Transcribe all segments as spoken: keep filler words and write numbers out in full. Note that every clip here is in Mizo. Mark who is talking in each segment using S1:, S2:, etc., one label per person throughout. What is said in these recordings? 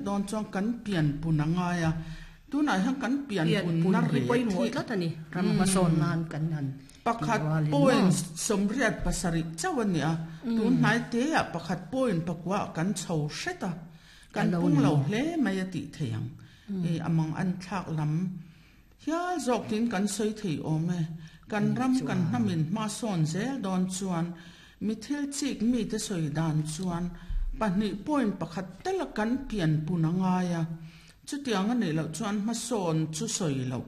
S1: Dawn chuan kan pian pun a ngai a, tunah hian kan pian pun na
S2: hi
S1: rêt
S2: pawimawh
S1: hi
S2: tlat a ni, ram hmasawn nan kan han tih
S1: Pakhat
S2: rualin
S1: point
S2: maw?
S1: sawmriat pasarih chauh a ni a, tun hnai teah pakhat point pakua kan chho hret a,
S2: A
S1: kan
S2: lo
S1: pung
S2: ni
S1: lo
S2: maw?
S1: hle mai a tih theih ang. E a mang an thlak lam hial zawk tiin kan sawi thei awm e. Kan
S2: Ni
S1: ram kan
S2: chuan.
S1: hnamin hma sawn zel dawn chuan mi thil chik mite sawi dan chuan pahnih point pakhat tala kan pian pun a ngai a, chutiang a nih loh chuan hmasawn chu sawi loh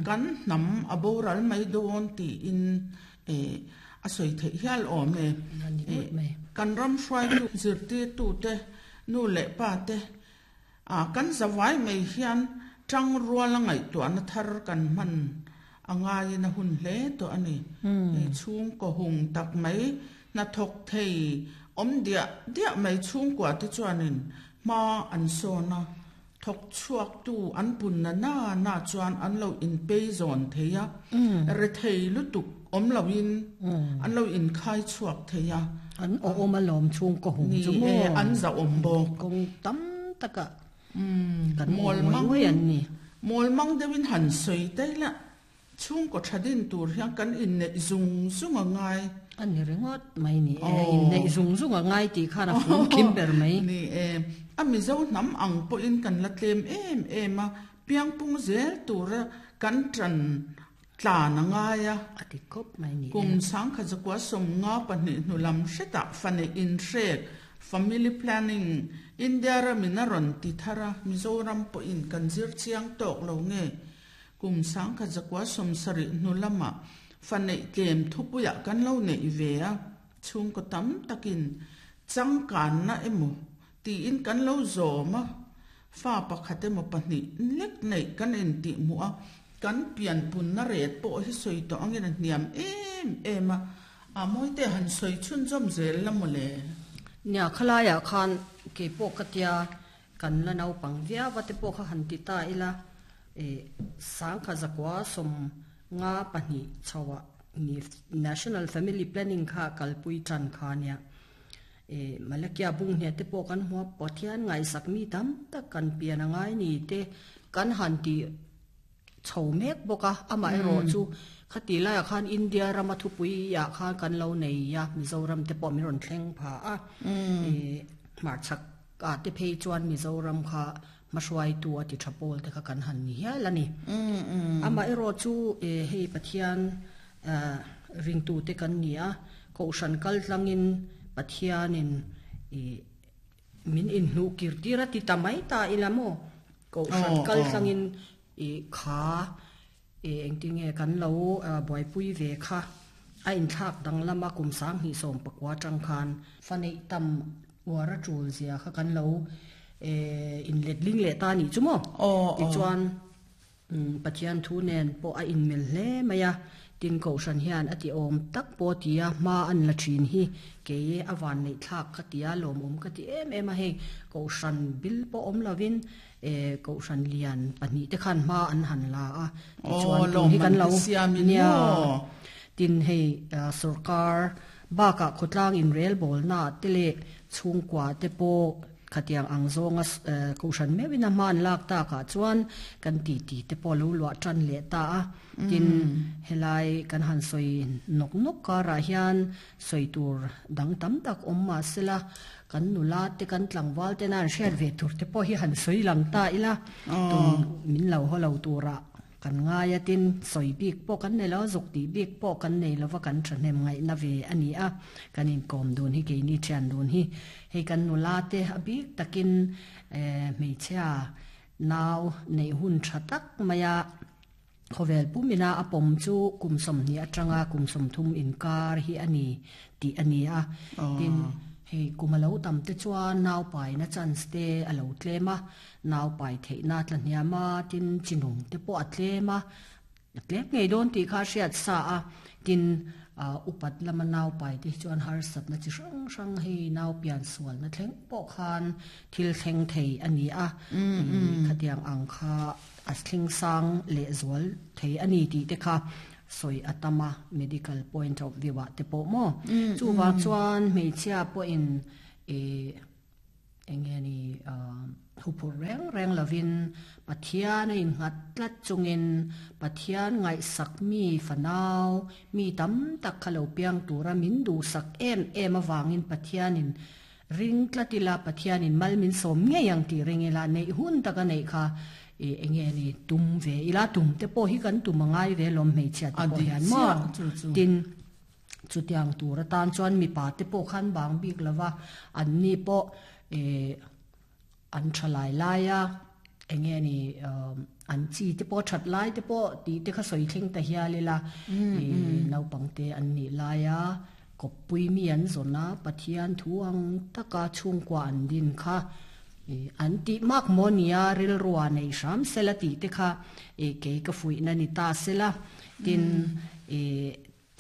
S1: kan hnam a boral mai dawn tiin e a sawi theih hial awm e.
S2: A ni
S1: E
S2: ngawt mai.
S1: kan ram hruaitu zirtirtute nu leh pa te a kan zavai mai hian tang rual a ngaihtuahna thar kan hman a ngaiin a hun hle tawh a ni. E chhungkaw hung tak mai hnathawk thei awm diah diah mai chhungkua te chuanin hma an sawn a, thawk chhuak tu an pun na na na chuan an lo inpei zawn thei a, rethei lutuk awm loin an lo inkhai chhuak thei a.
S2: An awm alawm chhungkaw hung
S1: Ni
S2: chu
S1: e,
S2: maw?
S1: an zahawm bawk.
S2: Kawng tam taka kan
S1: Mawl
S2: awm
S1: mang
S2: ngawih ngawih an ni.
S1: mawl mang deuhin han sawi tai la, chhungkaw tha din tur hian kan inneih zung zung a ngai.
S2: A ni ringawt mai ni e,
S1: Aw.
S2: inneih zung zung a ngai tih khan a fum kim ber mai.
S1: Ni e, a Mizo hnam ang pawhin kan la tlem em em a, piangpung zel tura kan ṭan tlan a ngai a.
S2: A ti khawp mai ni e.
S1: Kum sangkhat zakua sawm nga pahnih hnu lam hretah fanei inhrek family planning India ramin a rawn ti thar a, Mizoram pawhin kan zir chiang tawk lo nge. Kum sangkhat zakua sawm sarih hnu lamah fanei tlem thupuiah kan lo neih ve a, chhungkaw tam takin changkanna emaw tiin kan lo zawm a, fa pakhat emaw pahnih lek neih kan intih hmuh a, kan pian punna ret pawh hi sawi tawh angin a hniam em em a, a mawite han sawi chhunzawm zel la maw le.
S2: Nia khalaiah khan ke pawh ka tia kan la naupang viau a te pawh kha han ti ta ila, e sangkhat zakua sawm nga pahnih chhoah ni National Family Planning kha kalpui tan kha nia. E Malakia bung hne te pawh kan hmu a, Pathian ngaihsak mi tam tak kan pian a ngai ni te kan han ti chho mek bawk a, amaherawh chu khati laiah khan India rama thupui ah khan kan lo nei a, Mizoram te pawh min rawn thleng pha a. E hmarchhak ah te phei chuan Mizoram kha hmahruaitu a ti tha pawl te kha kan han ni hial a ni. Amaherawh chu e hei Pathian ringtu te kan ni a, kohhran kal tlangin Pathianin e min inhnuh kir tir a ti ta mai ta ila maw? Kohhran
S1: Aw,
S2: kal
S1: aw.
S2: tlangin e kha e engtinge kan lo buaipui ve kha a inthlak dang lama kum sang hnih sawm pakua tang khan fanei tam uar a tul zia kha kan lo e inlet ling leh ta ni chu maw?
S1: Aw,
S2: Ti
S1: aw.
S2: chuan Pathian thu nen pawh a inmil hle mai a, tin kohhran hian a ti awm tak pawh tia hma an la thin hi ke a van neih thlak ka tia lawmawm ka ti em em a, hei kohhran bil pawh awm lovin e kohhran lian pahnih te khan hma an han la a, ti
S1: Aw,
S2: chuan tun hi
S1: lawm
S2: kan
S1: man
S2: lo
S1: te siamin
S2: nia
S1: maw?
S2: tin hei sarkar bakah khawtlang in rel bawl na te leh chhungkua te pawh khatiang ang zawnga kohhran meuhin a hma an lak takah chuan kan ti ti te pawh lo luah tan leh ta a, tin helai kan han sawi nawk nawk karah hian sawi tur dang tam tak awm mah sela kan nula te kan tlangval te na an hriat ve tur te pawh hi han sawi lang ta ila, tun min lo haw lo turah kan ngai a, tin sawi bik pawh kan nei lo, zuk tih bik pawh kan nei lova, kan thahnem ngaihna ve a ni a, kan inkawm dun hi keini thian dun hi hei kan nula te a bik takin e hmeichhia nau nei hun tha tak maia khawvel pumina a pawm chu kum sawmhnih atanga kum sawmthum inkar hi a ni tih a ni a, tin hei kum a lo tam te chuan nau pai na chance te a lo tlem a, nau pai theihna tla hniam a, tin chinung te pawh a tlem a, a tlem ngei dawn tih kha hriat sa a, tin upat lama nau pai te chuan harsatna chi hrang hrang hei nau pian sual na thleng pawh khan thil thleng thei a ni a, khatiang ang kha a thleng sang leh zual thei a ni tih te kha sawi atama medical point of view ah te pawh maw chu wang chuan hmeichhia pawhin e enge ni Huphurh reng reng lovin Pathian a innghat tlat chungin Pathian ngaihsak mi fanau mi tam tak kha lo piang tura min duhsak em em avangin Pathianin ring tlat ila Pathianin mal min sawm ngei ang tih ring ila neih hun taka neih kha enge ni tum ve ila tum te pawh hi kan tum a ngai ve lawm hmeichhia te pawh hian maw tin chutiang tur atan chuan mipa te pawh khan bang bik lova an ni pawh an tha lai lai a enge ni an chi te pawh that lai te pawh ti te kha sawi thleng ta hial ila naupang te an nih lai a kawppui mi an zawn a Pathian thu ang taka chhungkua an din kha an tih mak maw nia rilrua nei hram sela tih te kha kei ka fuihna ni ta sela tin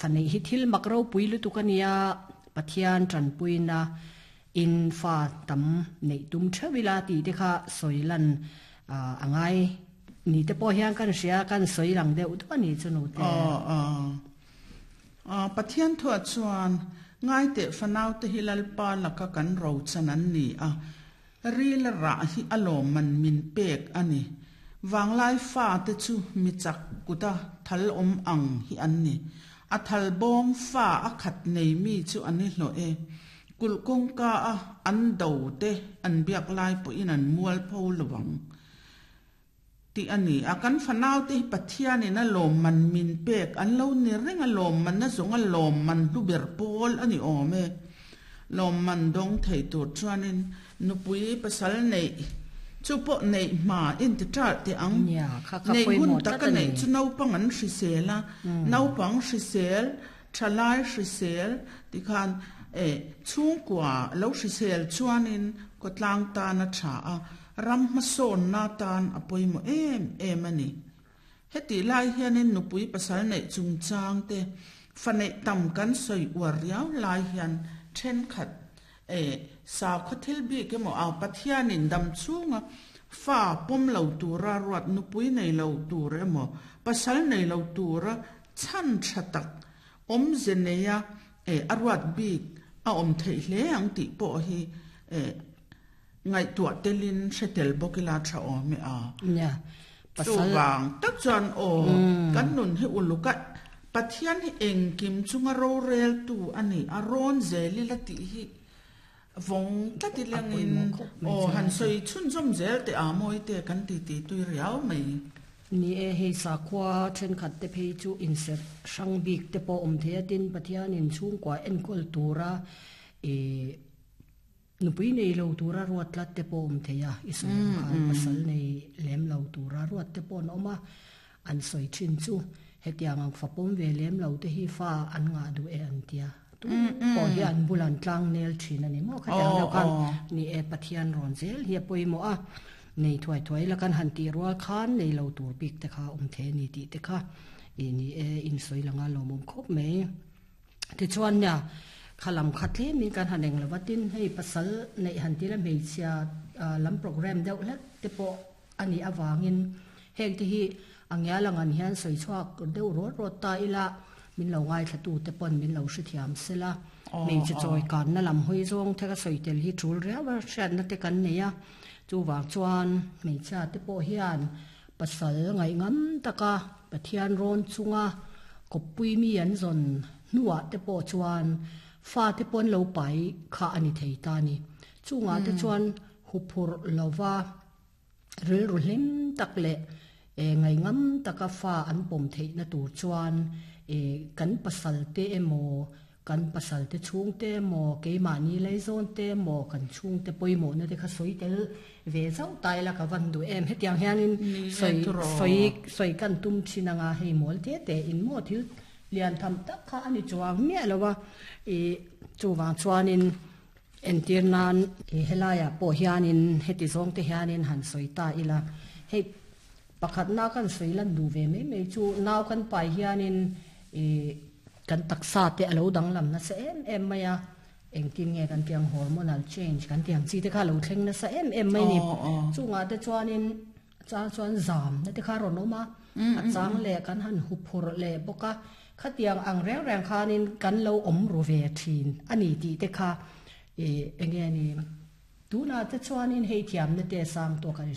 S2: fanei hi thil mak ropui lutuk ania Pathian tanpuina in fa tam nei tum theuhila ti te kha sawilan angai ni te pawh hian kan hria kan sawi lang deuh duh ani chu nu te
S1: a Pathian thua chuan ngai te fanau te hi lalpa laka kan ro chan an ni a ril ra hi alawm man min pek ani wanglai fa te chu mi chak kuta thal awm ang hi an ni a thal bawm fa a khat nei mi chu ani hlo e kulkong ka a an do te an biak lai pawh in an mual pho lawang ti ani a kan fanau te Pathian in a lawm man min pek an lo ni reng a lawm man na zawng a lawm man hlu ber pawl ani awm e lawm man dawng thei tur chuanin nupui pasal nei chu pawh nei hma in ti ṭal te ang nei hun taka nei chu naupang an hrisel a naupang hrisel thalai hrisel tikhan e chhungkua lo hrisel chuanin kawtlang tan a tha a ram hmasawn na tan a pawimawh em em ani heti lai hianin nupui pasal nei chungchang te fa neih tam kan sawi uar riau lai hian thenkhat e sa khaw thil bik emaw a Pathianin dam chhunga fa pawm lo tura ruat nupui nei lo tur emaw pasal nei lo tura chhan tha tak awmze neia e a ruat bik a awm theih hle ang tih pawh hi e ngaihtuah telin hretel bawk ila tha awm e a
S2: nia
S1: pasal wang tak chuan aw kan nun hi uluka Pathian hi engkim chunga ro rel tu ani a rawn zeli la tih hi vong tlati langin aw han sawi chhun zawm zel te a mawi te kan ti ti tui riau mai
S2: ni e hei sakhua thenkhat te phei chu inserh hrang bik te pawh awm thei a tin Pathianin chhungkua enkawl tura e nupui nei lo tura ruat tlat te pawh awm thei a i sawi ang khan pasal nei lem lo tura ruat te pawh an awm a an sawi thin chu hetiang ang fapawm ve lem lo te hi fa an ngah duh e an tia tu pawh hi an bulan tlang nel thin ani maw khatiang deuh khan ni e Pathian rawn zel hi a pawimawh a nei thuai thuai la kan han tih rual khan nei lo tur bik te kha awm thei ani tih te kha i ni e in sawi langa lawmawm khawp mai tichuan nia khalam kha tlemin kan han eng lova tin hei pasal neih han tila hmeichhia lam program deuh hlek te pawh ani awangin heng te hi angial ang an hian sawi chhuak deuh rawt rawt ta ila min lo ngai thla tu te pawn min lo hrethiam sela hmeichhe chawi kan na lam hawi zawng te ka sawi tel hi tul riau a hriatna te kan nei a chuwang chuan hmeichhia te pawh hian pasal ngaih ngam taka Pathian rawn chunga kawppui mi an zawn hnuah te pawh chuan fa te pawn lo pai kha ani thei ta ni chungah te chuan huphurh lova rilru hlim tak leh e ngai ngam taka fa an pawm theihna tur chuan e kan pasal te emaw kan pasal te chhung te emaw keimahni laizawn te emaw kan chhung te pawimawh na te kha sawi tel ve zauh tai la ka van duh em hetiang hianin sawi sawi sawi kan tum thin anga hei mawl te te in maw thil lian tham tak kha ani chuang miah lowa e chuwang chuanin entir nan e helaiah pawh hianin heti zawng te hianin han sawi ta ila hei pakhat na kan sawi lan duh ve mai mai chu nau kan pai hianin e kan taksa te alo danglam na sa em em mai a engtin nge kan tiang hormonal change kan tiang chi te kha lo thleng na sa em em mai ni chungah te chuanin chang chuan zam na te kha rawn awm a a chang leh kan han huphurh leh bawk a khatiang ang reng reng khanin kan lo awm ru ve thin ani tih te kha e enge ni Tuna te chuanin hei thiam na te sang to kan hre